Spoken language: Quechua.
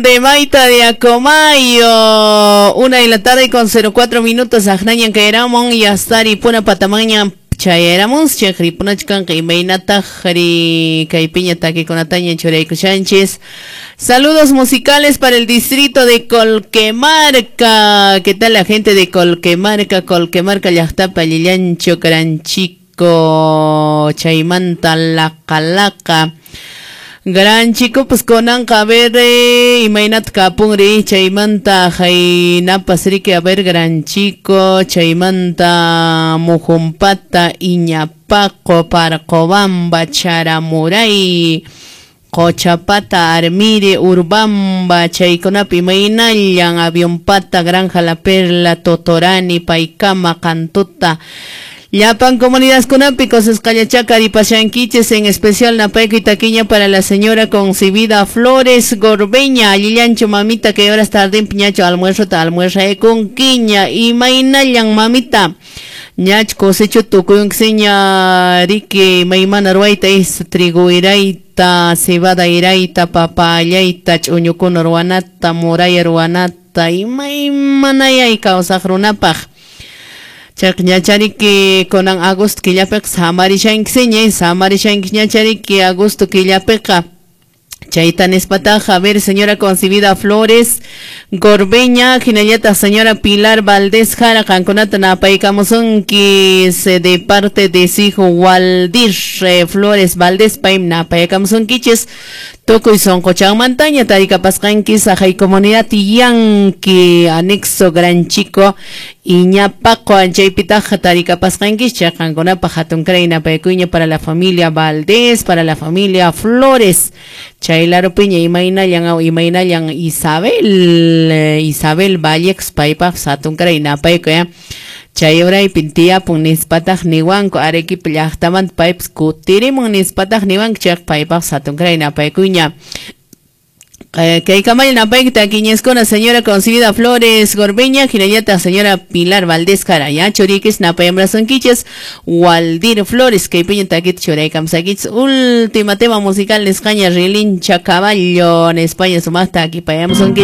De Maita de Acomayo, 1 de la tarde con 04 minutos, Ajnañan Kaeramon, Yastari Puna Patamaña Chayaramus, Chakripunachkan, Imaynata, Jari, Kaipiña, Takikunataña, Churaykushanchis. Saludos musicales para el distrito de Colquemarca. ¿Qué tal la gente de Colquemarca? Colquemarca, Llaqtapa, Lillancho, Karanchico, Chaymanta, Lacalaca. Gran chico, pues kunanqa a ver, imaynata kapunri, chaymanta haynapas riki, a ver, gran chico, chaymanta Mujumpata, Iñapaqo, Parqobamba, Charamuray, Qochapata, Armire, Urbamba, chaykunapi imaynallan, Avionpata, Granja La Perla, Totorani, Paikama, Cantuta, llapan comunidadkunapi kusisqallachá ripashankichis, en especial napaykuy takiña para la señora Concibida Flores Gorbeña, allillanchu mamita, que horas tarde piñacho almuerzo ta almuerza imaynallan mamita, ñach cosecho tukuyunksiña riki, maymana ruwayta is trigo irayta, cebada irayta, papa allayta, ch'uñukuna ruwanata, muraya ruwanata, imaymanayay kawsaq runapaq. Chaq ñachariki kunan agosto killapiqa samarishankiña, samarishanki ñachariki agosto killapiqa. Chayta nispataqa, a ver, señora Concibida Flores Gorbeña, hinallataq señora Pilar Valdés Jara, qankunata napaykamusunki de parte de su hijo Waldir Flores Valdés, paymi napaykamusunkichis tukuy sunquchanmantaña tarikapasqanki saqay comunidad Yanqui, anexo Gran Chico, Iñapaqo, anchaypitaqa tarikapasqankichis. Chay qankunapaq hatunkaray napaykuyña para la familia Valdés, para la familia Flores. Chay larupiña imaynallan, imaynallan Isabel Vallex, paypaq hatunkaray napaykuy, ya. Chay uraypin tiyapun nispataq niwanku, Arequipa llaqtamanta paypas kutirimun nispataq niwanku, chayqa paypaq hatunkaray napaykuyña. Kay kamalla napayki takiñiskuna, señora Concibida Flores Gorbeña, hinallataq señora Pilar Valdés Jara, ya churikis napayamrasunkichis Waldir Flores, kaypiña takita churaykamsakichis. Última tema musical nisqaña, Rilincha Caballo, en España sumaqta akipayamusunkichis.